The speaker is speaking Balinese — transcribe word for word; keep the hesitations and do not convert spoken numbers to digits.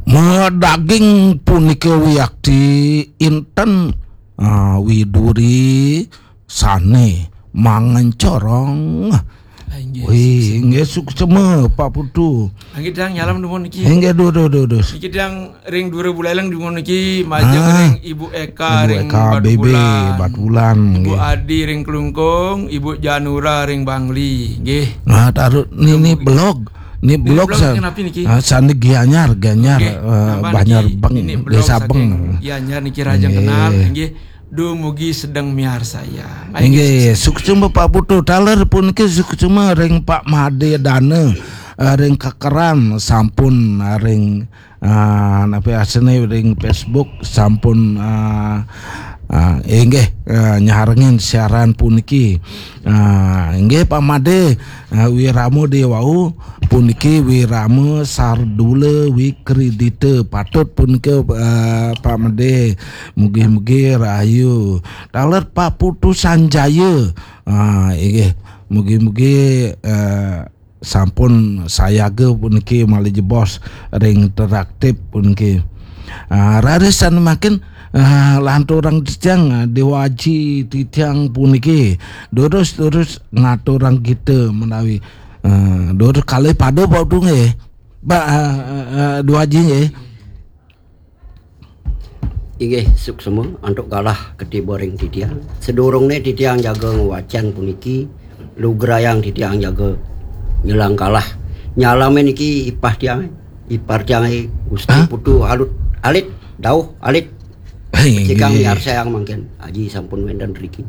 Madaging punika wiakti inten, ah, widuri sane mangencorong. Ah, inggih. Wih, inggih suksema Pak Putu. Inggih, tiang nyalam dumun niki. Inggih, duh, duh, duh, duh. Niki tiang ring Dura Buleleng dumun niki, majeng ring Ibu Eka ring Batubulan. Batubulan, Ibu Adi ring Klungkung, Ibu Janura ring Bangli, nggih. Nah, taruh ni, ni blog. Ni blog, blog sa-, kenapa niki? Ah, sandi Gianyar, Gianyar, nggih, eh, Banjar Beng, ini blog Desa Beng. Saking Gianyar niki, rahajeng kenal, nggih. Dumugi sedeng miarsayang. Inggih, suksma Pak Putu, taler puniki suksma ring Pak Made Dana, eh, ring Kekeran sampun, eh, ring, eh, napi asene ring Facebook sampun, eh, eh, inggih, eh, nyarengin siaran puniki. Eh, inggih Pak Made, eh, wirama dewau puniki wirama sardula wikridita. Patut punika, eh, Pak Made. Mugi-mugi rahayu. Taler Pak Putu Sanjaya. Ah, inggih. Mugi-mugi, eh, sampun sayaga puniki malih jebos ring interaktif puniki. Ah, raris sane mangkin, ah, lanturang titiang, ah, Dewa Aji titiang puniki. Durus-durus ngaturang kita menawi, ah, durus kalih pada Pak Putu nggih. Pak, ah, ah, ah, Dewa Aji nggih. Inggih, suksma antuk galah katiba ring titiang. Sadurungne titiang jaga ngwacan puniki, lugrayang titiang jaga nyelang galah. Nyalame niki ipah tiang, ipar tiange Gusti Hah? Putu Alut, Alit, Dauh, Alit. Hei, Becikang inggih. Nyarsayang mangkin. Aji sampun wenten riki.